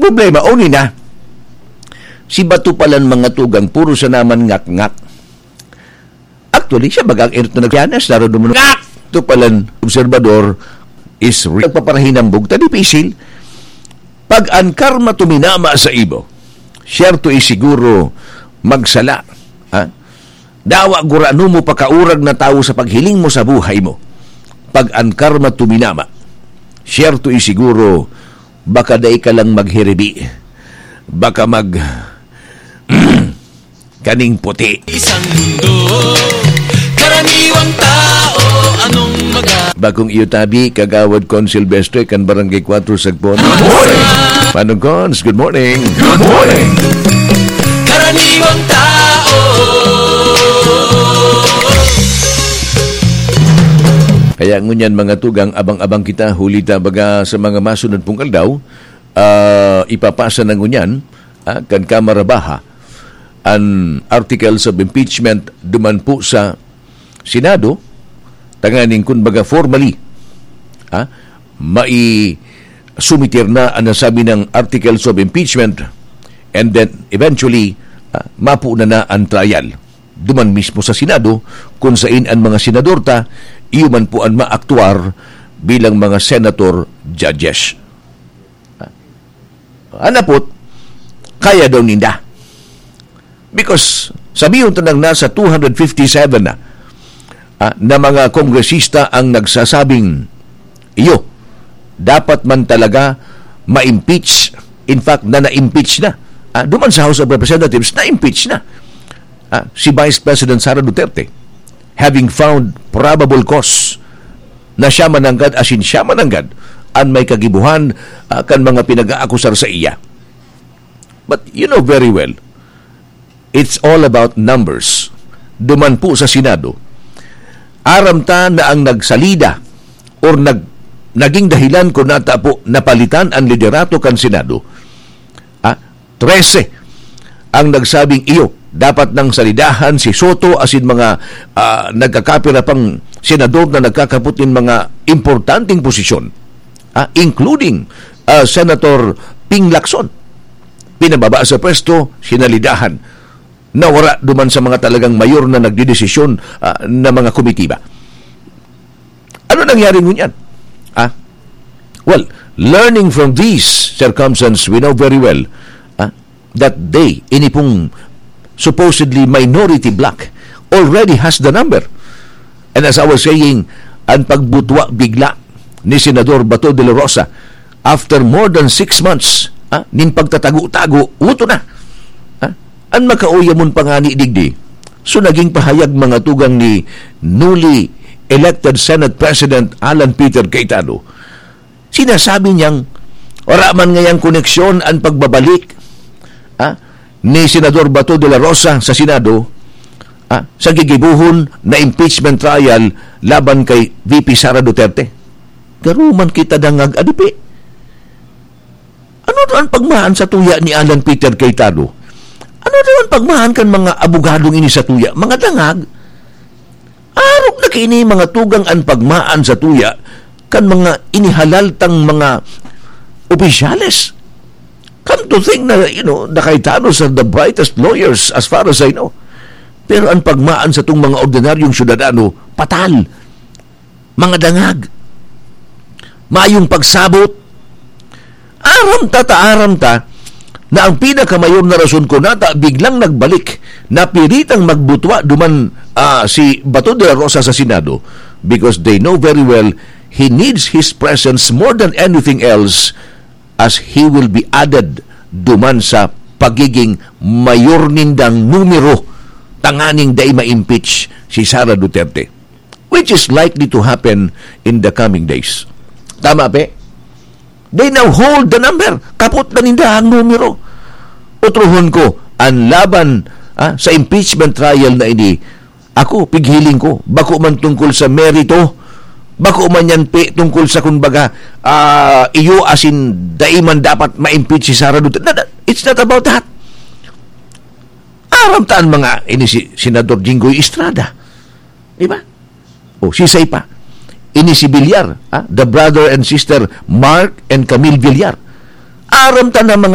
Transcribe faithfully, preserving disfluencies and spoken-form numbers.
Problema, uni na. Si Bato palan, mga tugang, puro siya naman ngak-ngak. Actually, siya baga ang erot na nagpianas, naro duman ngak! Ito palan, obserbador, is re-, nagpaparahinambog, ta dipisil. Pag an karma tuminama sa imo, siyerto is siguro magsala. Ha? Dawa gurano mo pakaurag na tawo sa paghiling mo sa buhay mo. Pag an karma tuminama, siyerto is siguro baka dai ka lang maghiribi. Baka mag-, kaning puti. Isang mundo, karaniwang tao, anong maga- Bakong iyo tabi, Kagawad Con Silvestre, kan Barangay Cuatro, Sagpon. Good morning! Manong Cons, good morning! Good morning! Karaniwang tao. Kaya ngunyan, mga tugang, abang-abang kita, huli ta baga sa mga masunod pong aldaw, ah, ipapasa na ngunyan, ah, kan Kamara Baha, an articles of impeachment duman po sa Senado, tanganing kun baga formally, ah, mai-sumitir na an nasabi ng articles of impeachment, and then eventually, ah, mapo na na an trial. Duman mismo sa Senado, kun sain an mga senador ta, iyo man po an maaktuar bilang mga senator judges. Anapot, kaya daw ninda. Because, sabihon ta nang nasa two hundred fifty-seven na, ah, na mga kongresista ang nagsasabing, iyo, dapat man talaga ma-impeach. In fact, na na-impeach na. Ah, duman sa House of Representatives, na-impeach na. Ah, si Vice President Sara Duterte, having found probable cause na siya mananggad, asin siya mananggad, an may kagibohan, ah, kan mga pinag-aakusar sa iya. But you know very well, it's all about numbers. Duman po sa Senado, aram ta na ang nagsalida or nag-, naging dahilan kun nata po napalitan ang liderato kan Senado, ah, trese ang nagsabing iyo, dapat nang salidahan si Soto asin mga, ah, nagkakapira pang senador na nagkakapot nin mga importanteng posisyon, ah, including, ah, Senator Ping Lacson. Pinababa sa pwesto, sinalidahan. Nawara duman sa mga talagang mayor na nagdedesisyon, ah, na mga komitiba. Ano nangyari ngunyan? Ah? Well, learning from these circumstances, we know very well, ah, that they, ini pong supposedly minority bloc, already has the number. And as I was saying, ang pagbutwa bigla ni Senador Bato de la Rosa, after more than six months, ah, nin pagtatago-tago, uto na. Ah, an makauyamon pa ngani digdi, so naging pahayag, mga tugang, ni newly elected Senate President Alan Peter Cayetano, sinasabi niyang wala man ngayang koneksyon an pagbabalik, ah, ni Senador Bato de la Rosa sa Senado, ah, sa gigibohon na impeachment trial laban kay V P Sara Duterte. Garo man kita dangag, adipi. Ano daw an pagmaan sa tuya ni Alan Peter Cayetano? Ano daw an pagmaan kan mga abogadong ini sa tuya? Mga dangag? Arog na kaini, mga tugang, an pagmaan sa tuya kan mga inihalal tang mga opisyales. Come to think na, you know, the Cayetanos are the brightest lawyers as far as I know. Pero an pagmaan sa tong mga ordinaryong syudadano, patal. Mga dangag. Mayong pagsabot. Aram ta, ta, aram ta, na ang pinakamayor na rason ko nata biglang nagbalik, napiritang magbutwa duman, ah, si Bato de la Rosa sa Senado, because they know very well he needs his presence more than anything else, as he will be added duman sa pagiging mayor nindang numero tanganing dai ma-impeach si Sara Duterte, which is likely to happen in the coming days. Tama, pe? They now hold the number. Kapot na ninda ang numero. Utrohon ko, an laban, ah, sa impeachment trial na ini, ako, pighiling ko, bako man tungkol sa merito, bako man yan, pe, tungkol sa, kumbaga, ah, iyo asin dai man dapat ma-impeach si Sara Duterte. Na, na, it's not about that. Aram ta an mga, ini si Senador Jinggoy Estrada. Di ba? O, sisay pa. Ini si Villar, ah, the brother and sister Mark and Camille Villar. Aram ta na mga